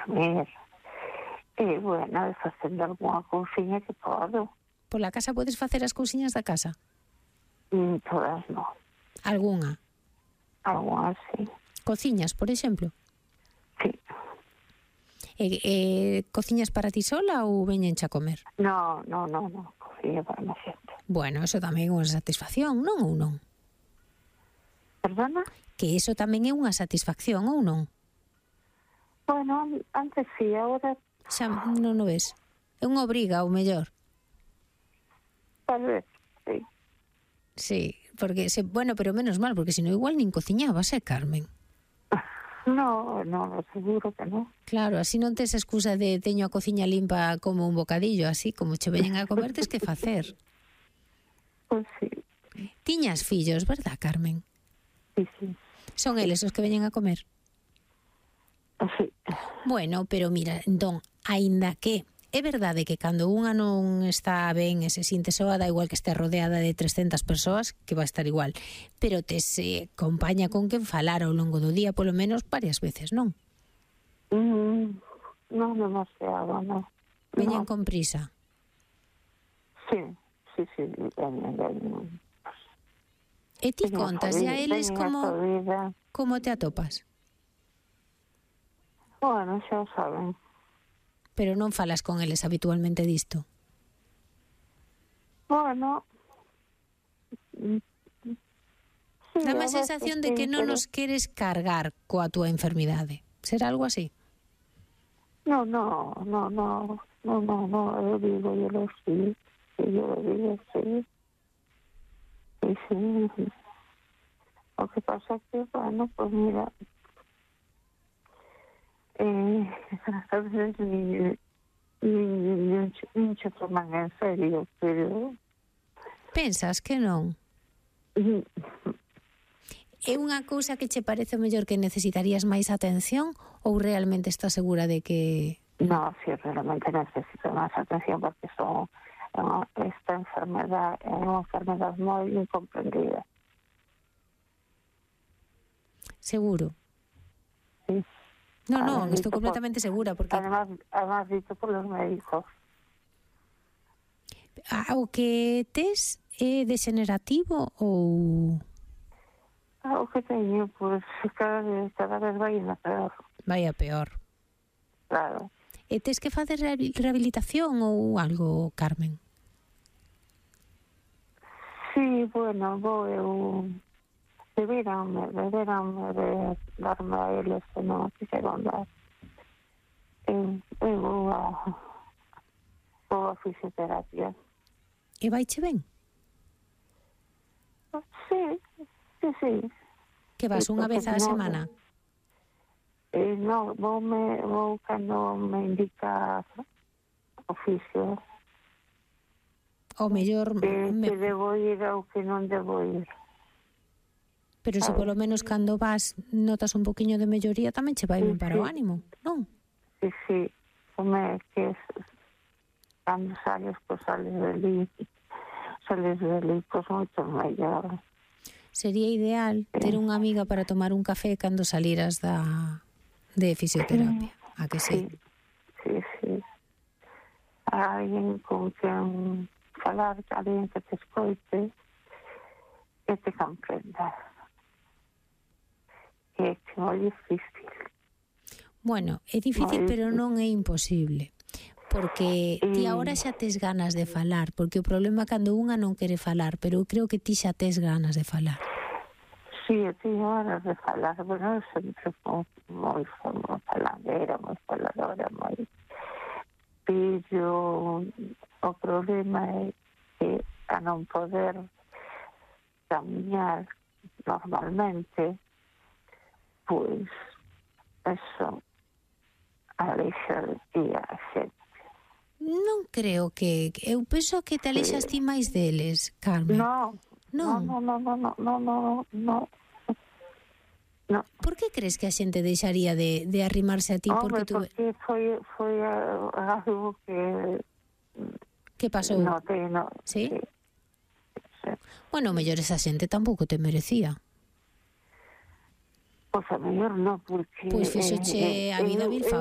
comer. E, bueno, facendo algunha cousiña que podo. Pola casa podes facer as cousiñas da casa? Todas non. Algunha? Algunhas, sí. Cociñas, por exemplo? Sí. Cociñas para ti sola ou veñenche a comer? No. Cociña para má xente. Bueno, eso tamén é unha satisfacción, non ou non? Perdona? Que iso tamén é unha satisfacción ou non? Bueno, antes sí, agora Xa non o ves? É unha obriga, ou mellor? tal vez, sí. Sí, porque, bueno, pero menos mal, porque senón igual nin cociñabas, Carmen? No, seguro que non. Claro, así non tes excusa de teño a cociña limpa como un bocadillo, así como che veñen a comer, tes que facer. Pois sí. Tiñas fillos, verdad, Carmen? Sí. Son eles os que veñen a comer? Sí. Bueno, pero mira, entón, aínda que é verdade que cando unha non está ben e se sinte soa, dá igual que este rodeada de 300 persoas, que vai estar igual, pero te se acompaña con quen falar ao longo do día, polo menos varias veces, non? Non demasiado, non. Veñen con prisa. Sí, veñen. E ti contas a eles como te atopas? Bueno, xa o saben. Pero non falas con eles habitualmente disto? Bueno, sí, Dame a sensación de que non nos queres cargar coa túa enfermidade. Será algo así? No, eu digo, yo lo sí. Sí. Lo que pasa es que, bueno, pues mira, a veces ni se toman en serio, pero... Pensas que non? É unha cousa que che parece mellor que necesitarías máis atención ou realmente estás segura de que... No, sí, realmente necesito más atención porque esta enfermedad es una enfermedad muy incomprendida. Seguro? Sí. No, estou completamente segura porque... Además dicho por los médicos. O que tes é degenerativo ou... O que teño, pues cada vez vai a peor. Vai a peor. Claro. E tes que facer rehabilitación ou algo, Carmen? Sí, bueno, deberanme de darme a eles que non quixeron dar. Vou a fisioterapia. E vaiche ben? Sí. Que vas unha vez á semana? No, vou cando me indica oficio. O mellor... Que debo ir ou que non debo ir. Pero se polo menos cando vas notas un poquinho de melloría, tamén che vai ben para o ánimo, non? Sí. Como que cando sales, pues sales deli, pues moito mellor. Sería ideal ter unha amiga para tomar un café cando saliras de fisioterapia, a que sí? Sí. Alguén con quen falar, alguén que te escoite, que te comprenda. É moi difícil. Bueno, é difícil, pero non é imposible. Porque ti agora xa tes ganas de falar, porque o problema é cando unha non quere falar, pero eu creo que ti xa tes ganas de falar. Sí, eu teño ganas de falar, bueno, eu sempre fui moi faladera, moi faladora, moi... Pero o problema é que a non poder camiñar normalmente, pois, eso alexa de ti a xente. Non creo que... Eu penso que te alexas ti máis deles, Carmen. No. Por que crees que a xente deixaría de arrimarse a ti? Porque foi algo que... Que pasou? No. Sí? Bueno, mellor esa xente tampouco te merecía. Pois a mellor non, porque... Pois fixoche a vida mil favores.